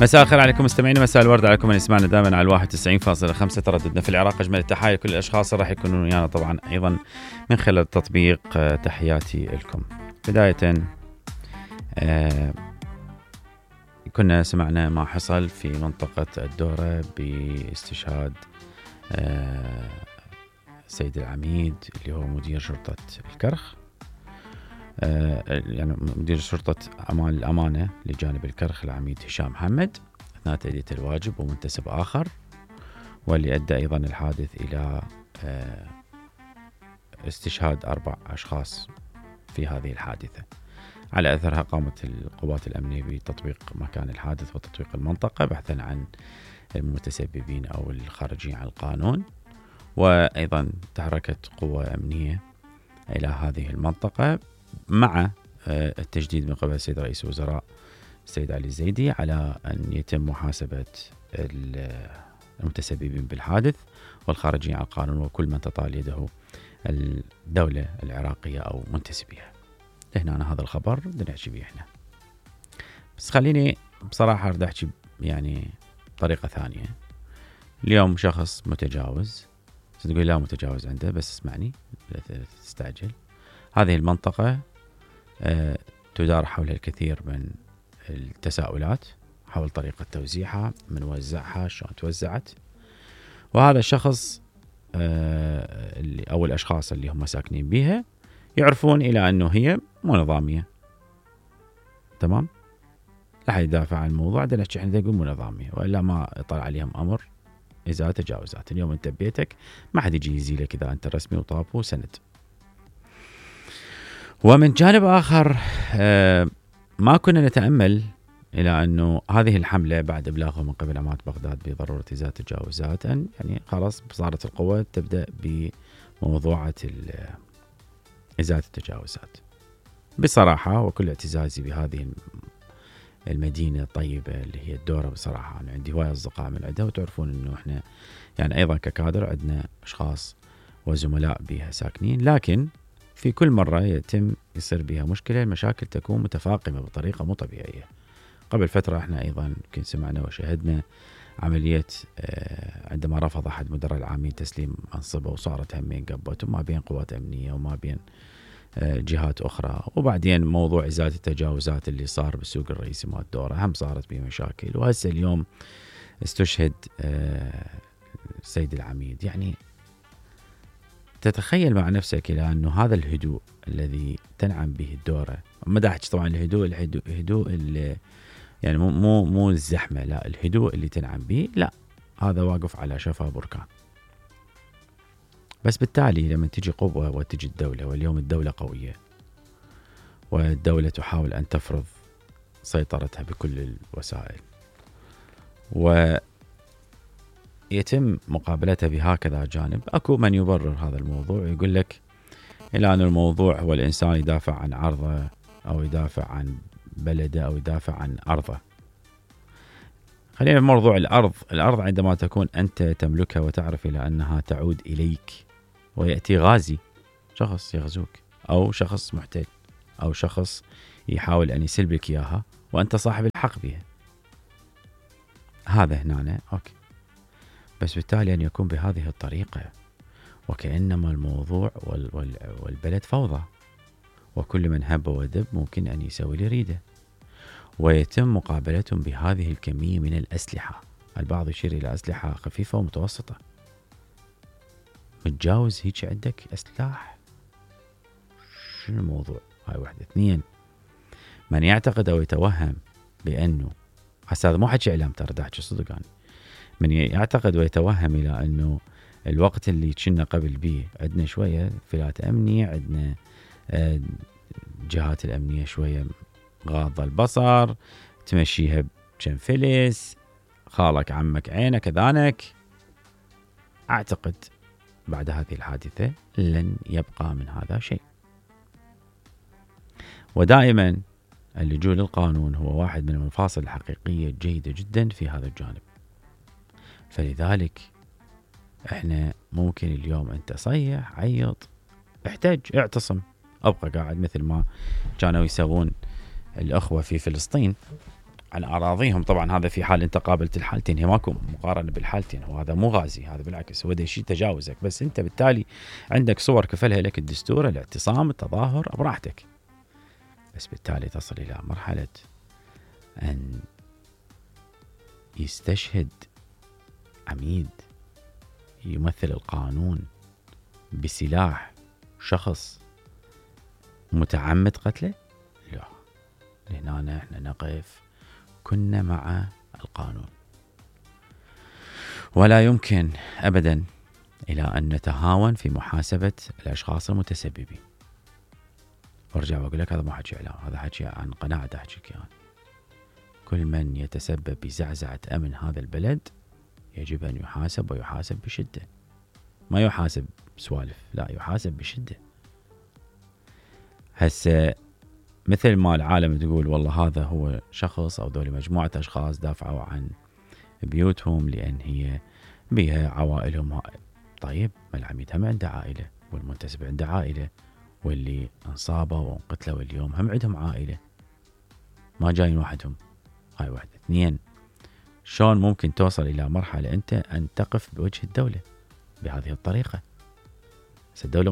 مساء الخير عليكم مستمعينا، مساء الورد عليكم من يسمعنا دائما على 91.5 ترددنا في العراق. أجمل التحايا لكل الأشخاص راح يكونون ويانا طبعا أيضا من خلال التطبيق. تحياتي لكم. بداية كنا سمعنا ما حصل في منطقة الدورة باستشهاد سيد العميد اللي هو مدير شرطة الكرخ، يعني مدير شرطة الأمانة لجانب الكرخ العميد هشام محمد أثناء تأدية الواجب، ومنتسب آخر، واللي أدى أيضا الحادث إلى استشهاد 4 أشخاص في هذه الحادثة. على أثرها قامت القوات الأمنية بتطبيق مكان الحادث وتطبيق المنطقة بحثا عن المتسببين أو الخارجين عن القانون، وأيضا تحركت قوة أمنية إلى هذه المنطقة مع التجديد من قبل السيد رئيس الوزراء السيد علي الزيدي على أن يتم محاسبة المتسببين بالحادث والخارجين عن القانون وكل من تطال يده الدولة العراقية أو منتسبيها. هنا أنا هذا الخبر بدنا نحكي به إحنا، بس خليني بصراحة أريد أحكي يعني طريقة ثانية. اليوم شخص متجاوز، تقول لا متجاوز عنده، بس اسمعني لا تستعجل. هذه المنطقة تدار حولها الكثير من التساؤلات حول طريقة توزيعها، من وزعها، شلون توزعت، وهذا الشخص أو الأشخاص اللي هم ساكنين بها يعرفون إلى أنه هي مو نظامية. تمام؟ لا حد يدافع عن الموضوع، عندنا نحكي احنا نقول مو نظامية، وإلا ما يطلع عليهم أمر إذا تجاوزات. اليوم أنت ببيتك ما حد يجي يزيلك إذا أنت رسمي وطابو سند. ومن جانب آخر ما كنا نتأمل إلى أنه هذه الحملة بعد إبلاغه من قبل عمارة بغداد بضرورة إزالة التجاوزات، أن يعني خلاص صارت القوة تبدأ بموضوعة إزالة التجاوزات. بصراحة وكل اعتزازي بهذه المدينة الطيبة اللي هي الدورة، بصراحة أنا عندي هواية أصدقاء من عندها، وتعرفون أنه إحنا يعني أيضا ككادر عندنا أشخاص وزملاء بها ساكنين، لكن في كل مرة يتم يصير بها مشكلة، المشاكل تكون متفاقمة بطريقة مو طبيعية. قبل فترة احنا أيضا يمكن سمعنا وشاهدنا عملية عندما رفض أحد مدراء العامين تسليم منصبه، وصارت همين قبت وما بين قوات أمنية وما بين جهات أخرى. وبعدين موضوع إزالة التجاوزات اللي صار بالسوق الرئيسي مال الدورة هم صارت به مشاكل، وهسه اليوم استشهد سيد العميد. يعني تتخيل مع نفسك إلى أنه هذا الهدوء الذي تنعم به الدورة، ما دا أحكي طبعا الهدوء اللي يعني مو الزحمة، لا، الهدوء اللي تنعم به، لا، هذا واقف على شفا بركان. بس بالتالي لما تجي قوة وتجي الدولة، واليوم الدولة قوية والدولة تحاول أن تفرض سيطرتها بكل الوسائل، ويتم مقابلتها بهكذا جانب، أكو من يبرر هذا الموضوع ويقول لك إلى أن الموضوع هو الإنسان يدافع عن عرضه أو يدافع عن بلده أو يدافع عن أرضه. خلينا بموضوع الأرض عندما تكون أنت تملكها وتعرف إلى أنها تعود إليك، ويأتي غازي، شخص يغزوك أو شخص محتل أو شخص يحاول أن يسلبك إياها، وأنت صاحب الحق بها، هذا هنا أوكي. بس بالتالي أن يكون بهذه الطريقة وكأنما الموضوع والبلد فوضى، وكل من هب ودب ممكن أن يسوي لي ريده، ويتم مقابلتهم بهذه الكمية من الأسلحة. البعض يشير إلى أسلحة خفيفة ومتوسطة. متجاوز هيك عندك أسلحة، شنو الموضوع؟ هاي واحدة. 2، من يعتقد أو يتوهم بأنه هذا مو حكي إعلام، ترى أحكي صدق أنا، من يعتقد ويتوهم إلى أنه الوقت اللي كنا قبل به عندنا شوية فلات أمني، عندنا جهات الأمنية شوية غاضة البصر، تمشيها بكم فلس، خالك عمك عينك ذانك، أعتقد بعد هذه الحادثة لن يبقى من هذا شيء. ودائما اللجوء للقانون هو واحد من المفاصل الحقيقية الجيدة جدا في هذا الجانب. فلذلك احنا ممكن اليوم انت صيح، عيط، احتج، اعتصم، ابقى قاعد مثل ما كانوا يسوون الأخوة في فلسطين عن أراضيهم. طبعا هذا في حال أنت قابلت الحالتين، هي ماكو مقارنة بالحالتين، وهذا مو غازي، هذا بالعكس هو شيء تجاوزك، بس أنت بالتالي عندك صور كفلها لك الدستور، الاعتصام، التظاهر براحتك، بس بالتالي تصل إلى مرحلة أن يستشهد عميد يمثل القانون بسلاح شخص متعمد قتله. لا، لهنا احنا نقف كنا مع القانون، ولا يمكن أبدا إلى أن نتهاون في محاسبة الأشخاص المتسببين. وارجع وأقول لك هذا مو حكي إعلام، هذا حكي عن قناعة أحكيك يعني. كل من يتسبب بزعزعة أمن هذا البلد يجب أن يحاسب، ويحاسب بشدة، ما يحاسب سوالف، لا يحاسب بشدة. هسه مثل ما العالم تقول والله هذا هو شخص أو ذولي مجموعة أشخاص دافعوا عن بيوتهم لأن هي بيها عوائلهم. طيب ما العميد هم عنده عائلة، والمنتسب عنده عائلة، واللي انصابوا وانقتلوا اليوم هم عندهم عائلة، ما جايين وحدهم. هاي واحدة. اثنين، شلون ممكن توصل إلى مرحلة أنت أن تقف بوجه الدولة بهذه الطريقة؟ الدولة